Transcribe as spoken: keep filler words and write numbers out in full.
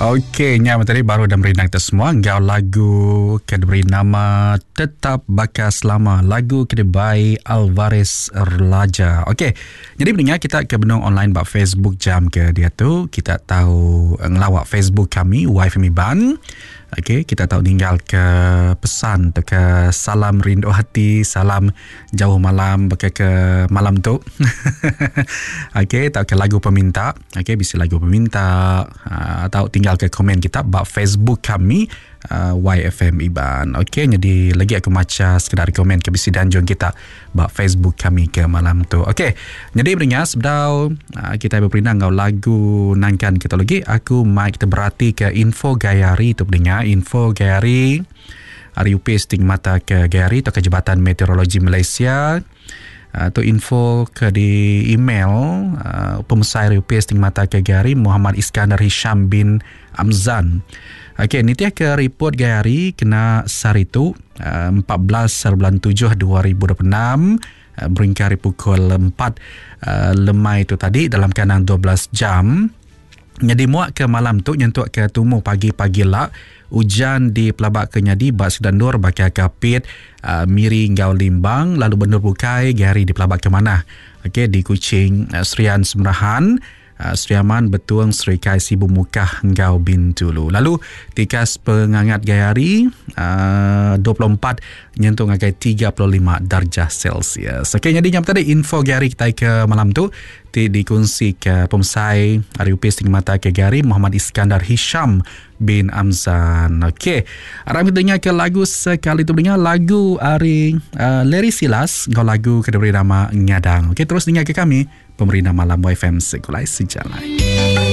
Okey, nya tadi baru dah merindang kita semua enggau lagu ke diberi nama Tetap Baka Selama, lagu ke dibai Alvarez Laja. Okey, jadi pendengar kita ke benung online ba Facebook jam ke dia tu, kita tahu ngelawak Facebook kami Y F M Iban. Okey, kita tahu ninggal ke pesan atau ke salam rindu hati, salam jauh malam baka ke malam tu. Okey, tahu ke lagu peminta. Okey, bisa lagu peminta atau tinggal ke komen kita ba Facebook kami uh, Y F M Iban. Okey, jadi lagi aku baca sekedar komen ke bisi danjung kita ba Facebook kami ke malam tu. Okey, jadi pendengar sebedau uh, kita berperindang ngau lagu nangkan kita lagi, aku mai kita berhati ke info gayari tu pendengar. Info gayari hari upis stigmata ke gayari atau ke Jabatan Meteorologi Malaysia atau info ke di email uh, pemusai U P S stigmata ke gayari Muhammad Iskandar Hisham bin Amzan. Okey, ni dia ke report gayari kena saritu uh, empat belas bulan tujuh dua ribu dua puluh enam uh, beringkari pukul empat uh, lemai tu tadi dalam kandang dua belas jam. Jadi muak ke malam tu nyentuk ke tumu pagi-pagi lah hujan di Pelabak Kenyadi bak Sedandur bakal Kapit uh, Miri ngau Limbang lalu benur bukai gari di Pelabak ke mana. Okey, di Kuching uh, Serian Semerahan uh, Seriaman Betuang Serikai Sibu Mukah ngau Bintulu. Lalu tikas pengangat gayari uh, dua puluh empat nyentuh ngagai tiga puluh lima darjah Celsius. Okey, jadi nyam tadi info gari kita ke malam tu ti dikongsi ke pemusai Hari Upis Stigmata ke Gari Muhammad Iskandar Hisham bin Amzan. Okey, aram kita dengar ke lagu sekali tu dengar lagu hari uh, Larry Silas ngau lagu ke diberi nama Ngadang. Okey, terus dengar ke kami Pemerintah Malam Y F M Segulai Sejalai.